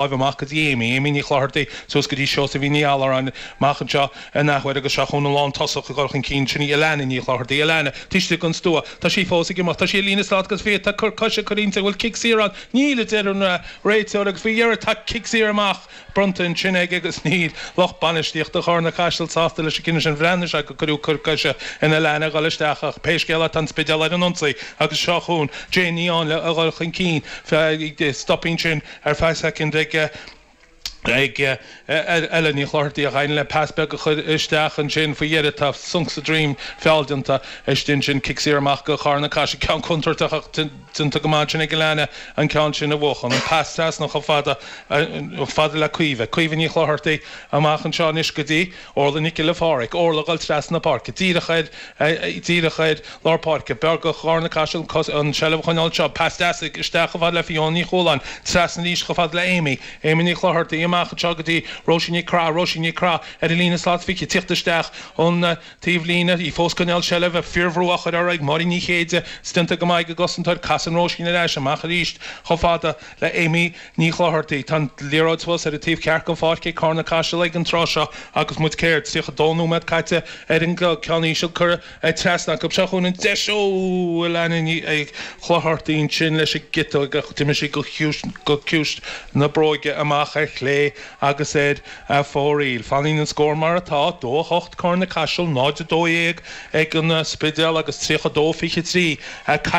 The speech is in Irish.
Láimh amach go dtí Amy, Amy Ní Chlochartaigh, suas go dtí Seosaimhín Ní Allmhuráin, amach anseo an athuair agus seo chugainn an lántosach ag dul chun cinn, sin í Alana Ní Chlochartaigh. Alana, taobh istigh den stua, tá sí fós ag imeacht, tá sí ar líne slat agus fiche, tá cor coise curtha inti, an bhfuil cic saor ann? Níl, a deir an réiteoir agus faoi dheireadh tá cic saor amach bronnta ansin aige agus níl lucht bainistíochta Charna Caiseal sásta leis an gcinneadh sin. Bhreathnaigh sé gur cuireadh cor coise in Alana a dhul isteach ach pé scéal é tá an Spidéal ar an ionsaí agus seo chugainn Jane Ní Áinle a dhul chun cinn. Stop ansin. Ar feadh soicind ag ag Ella Ní Chlochartaigh ach éiríonn léi pas beag a chur isteach ansin faoi dheireadh. Tá sonc sa droim feall déanta istigh ansin. Cic saor amach go Charna Caiseal. Ceann contúirteach ach déanta go maith ansin ag Alana an ceann sin a bhuachan. An pas trasna chomh fada fada le Caoimhe. Caoimhe Ní Chlochartaigh amach anseo anois go dtí Orla Nic Giolla Phádraig. Orla ag dul trasna na páirce. Díreach ar díreach ar lár páirce. B'fhearr do Charna Caiseal an tseilbh a choinneáil anseo. Pas deas isteach chomh fada le Fiona Ní Chualáin. Trasna arís chomh fada le Amy. Amy Ní Chlochartaigh amach anseo go dtí Róisín Nic Craith. Róisín Nic Craith ar an líne slat 20. Tíocht isteach ón taobhlíne. Í fós ag coinneáil seilbhe. Fíorbhrú á chur uirthi ag Máirín Ní Chéide. Is déanta go maith ag an gcosantóir. Casann Róisín ar ais. Amach arís chomh fada le Amy Ní Chlochartaigh. Tá an liathróid suas ar an taobh ceart den pháirc ag Carna Caiseal ag an tráth seo agus muid céard, 32 nóiméad caite ar an gclog. Ceann íseal curtha trasna acu. Seo chugainn an deis ó Alana Ní Chlochartaigh ansin leis an gciotóg ach d'imigh sí go ciumhais na bróige amach ar chlé agus ar fóraoil. Fanann an scór mar atá, 2-8 Carna Caiseal, 0-12 ag an Spidéal agus 32-23 caite.